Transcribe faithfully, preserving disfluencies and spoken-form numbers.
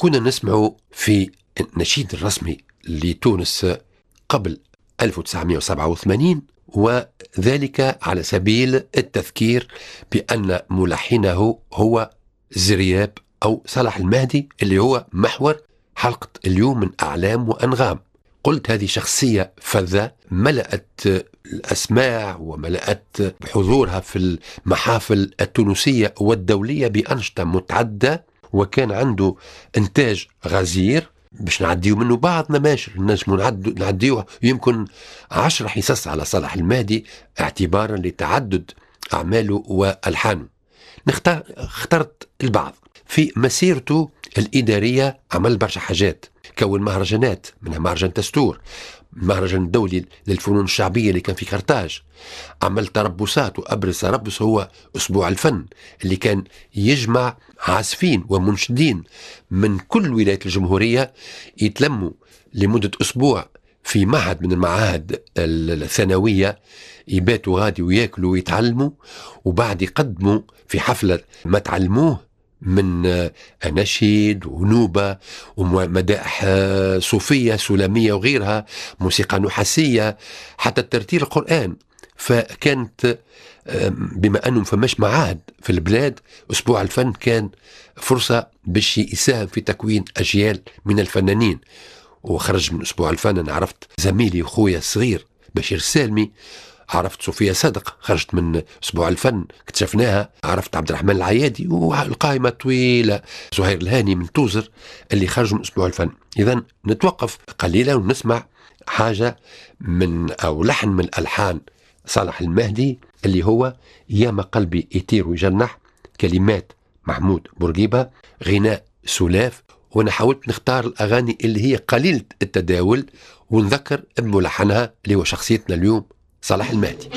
كنا نسمع في النشيد الرسمي لتونس قبل ألف وتسعمائة وسبعة وثمانين، وذلك على سبيل التذكير بأن ملحنه هو زرياب أو صلاح المهدي، اللي هو محور حلقة اليوم من أعلام وأنغام. قلت هذه شخصية فذة ملأت الأسماع وملأت بحضورها في المحافل التونسية والدولية بأنشطة متعددة، وكان عنده إنتاج غزير باش نعديو منه بعض نماشر نجمو نعديوه يمكن عشر حصص على صلاح المهدي اعتبارا لتعدد أعماله وألحانه. نختار، اخترت البعض. في مسيرته الإدارية عمل برشا حاجات، كون مهرجانات منها مهرجان تستور، مهرجان الدولي للفنون الشعبية اللي كان في كرتاج، عمل تربصات، وأبرز تربص هو أسبوع الفن اللي كان يجمع عازفين ومنشدين من كل ولايات الجمهورية يتلموا لمدة أسبوع في معهد من المعاهد الثانوية، يباتوا غادي وياكلوا ويتعلموا، وبعد يقدموا في حفلة ما تعلموه من أناشيد ونوبة ومدائح صوفية سلامية وغيرها، موسيقى نحاسية، حتى الترتيل القرآن. فكانت بما أنه فماش معاهد في البلاد، أسبوع الفن كان فرصة باش يساهم في تكوين أجيال من الفنانين. وخرج من أسبوع الفن أنا عرفت زميلي وخويا الصغير بشير سالمي، عرفت صوفيا صادق خرجت من أسبوع الفن اكتشفناها، عرفت عبد الرحمن العيادي، والقائمة طويلة، زهير الهاني من توزر اللي خرجوا من أسبوع الفن. إذا نتوقف قليلا ونسمع حاجة من أو لحن من ألحان صالح المهدي اللي هو يا ما قلبي يطير ويجنح، كلمات محمود بورقيبة، غناء سلاف. وانا حاولت نختار الأغاني اللي هي قليلة التداول ونذكر بملحنها اللي هو شخصيتنا اليوم صلاح المهدي.